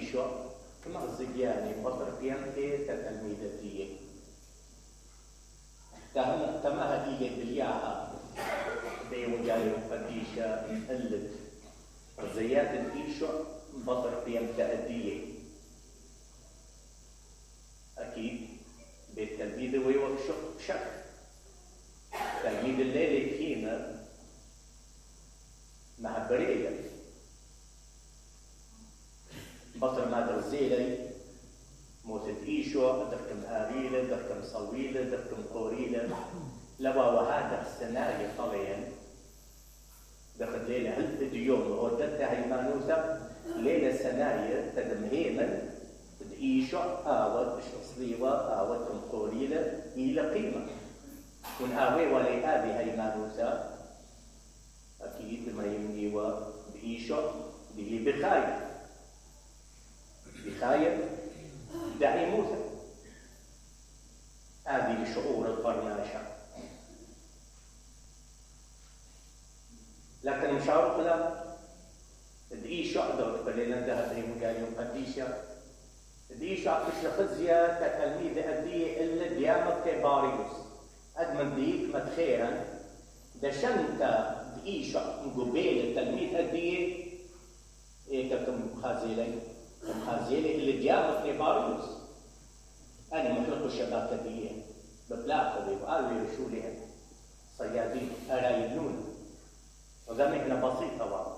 إيشو كما الزجاني بطر بيانتي تتلميذ دي تماها إيجي بالياها دي وجالي وقديشة اللد الزيات الإيشو بطر بيانتي دي أكيد بالتلميذ ويوقشق شك تلميذ الليل كينا مع بريئة بطر ما درزيلي موتت إيشو دركم آريلة دركم صويلة دركم قوريلة لوا وهذا السناري طليا دخل ليلة هل ديوم ودتها هيمانوسة ليلة سناري تدمهيما إيشو آوت شخصيوة آوت قوريلة إلى قيمة كن آوي ولي آبي هيمانوسة أكيد ما يمنيوا بإيشو به بخاية دعي موسى هذه شعور القرناشة لكن مشاورنا دعيشو أدور بلينا ذهب هي مجاليون قديشة دعيشو أكش خزية كتلميذ أدية إلا ديامة كباريوس أدمن ديك متخيرا دشنت دعيشو مقبيل التلميذ أدية إيه كم خازيلين الخازيلي اللي ديامة نيباريوس أنا محلق الشباب كبير ببلاقة وقالوا يرشولها صيادين أرايدون وذا مهنة بسيطة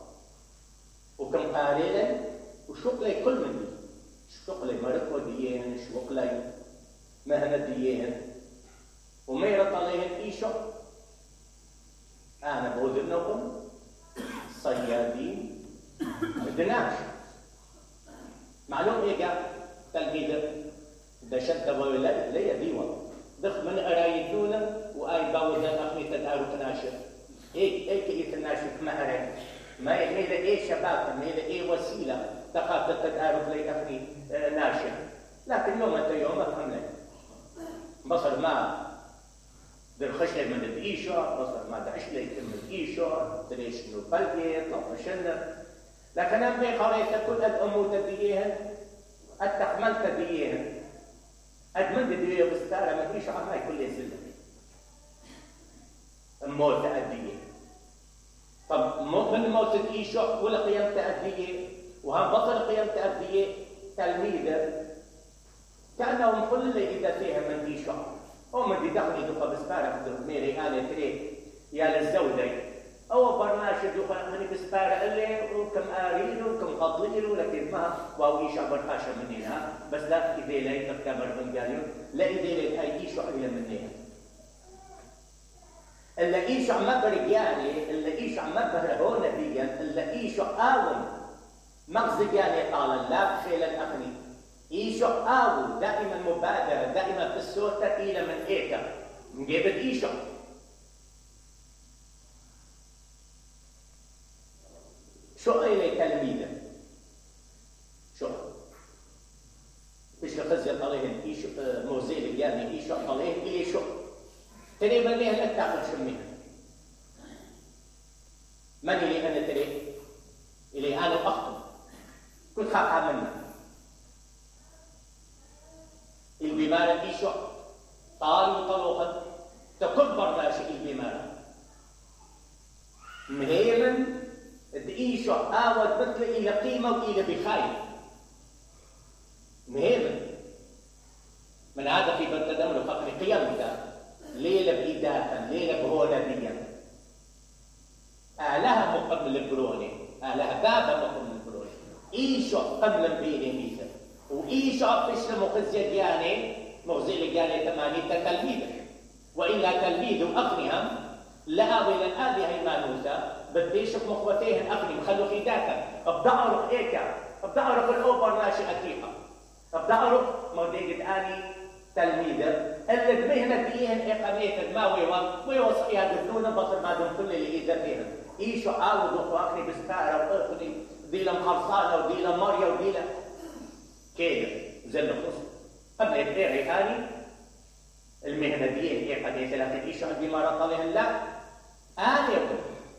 وكم قارئا وشغلي كل من دي شغلي مرق وديين شغلي مهنة ديين وميرت عليهم إيشو أنا بوذنهم صيادين بدناش معلوم إيجا تلميذ دشت ولا ليه ديوان دخ من أرايدونا وآي باوزان أخني تدارو تناشر إيه يتناشر ما أرايد ما يميل إيه شباب ميل إيه وسيلة تخاف تدارو لي أخني ناشر لكن يوم أنت يوم أفهم لك بصر ما بالخشة من الإيشو بصر ما دعش لي من الإيشو تريش إنه بلقي طفشنا لكن أنا بقريت كل الأمور تديهن التحمل تديهن أدمن تديه بستارة ما فيش عماي كل يزل الموت تأديه طب من موت الإيشو ولا قيام تأديه وهم بطل قيام تأديه تلميذة كأنهم كل إذا فيها من إيشو أو من دي دخلي دوقة بستارة خدو ميري آلة تريد يا للزودي أو برنامج دوخة مني بسبارة اللي وكم آريل وكم قضيل لكن ما واويش عبر خاشة مننا بس لا إذا لا يتكبر من جاليون لا إذا لا أيش أغلى مننا اللي إيش عم برجالي اللي إيش عم بهرهون نبيا اللي إيش آون مغزجاني قال لا خيل الأغني إيش آون دائما مبادرة دائما في الصوت إلى من إيكا نجيب إيش شو إلي تلميذة شو إيش خزيت عليهم إيش موزيل يعني إيش عليهم إلي شو تري من ليه لا تأخذ شميها من إلي أنا تري إلي أنا أخطب كل خاف منها البمارة إيشو طال طلوقا تكبر راشي البمارة مهيمن إيشو آوت مثل إلى قيمة وإلى بخاية مهيمن من هذا في بنتدمر فقر قيامك ليلة بإداتا ليلة برونة بيا آلها مقبل البرونة آلها بابا مقبل البرونة إيشو قبل بيني ميزة وإيشو فيش مخزية دياني مخزية دياني تماني تلميذك وإلا تلميذ أغنهم لأوي للآذي هيمانوسة بديشك مخوتيهن أغني مخلو خيداتا أبدأ أعرف إيكا أبدأ أعرف الأوبر ناشي أكيها أبدأ أعرف موديجد آني تلميذة اللي دمهنا فيهن إقامية ما ويوا صحيح دلونا بطل ما دون كل اللي إذا فيهن إيشو عاودوا أخواني بستارة وأخذي ديلا مخلصانة وديلا ماريا وديلا كده زل خصم قبل إبقاري آني المهنة ديين إقامية لكن إيشو عندي مرة طالهم لا آني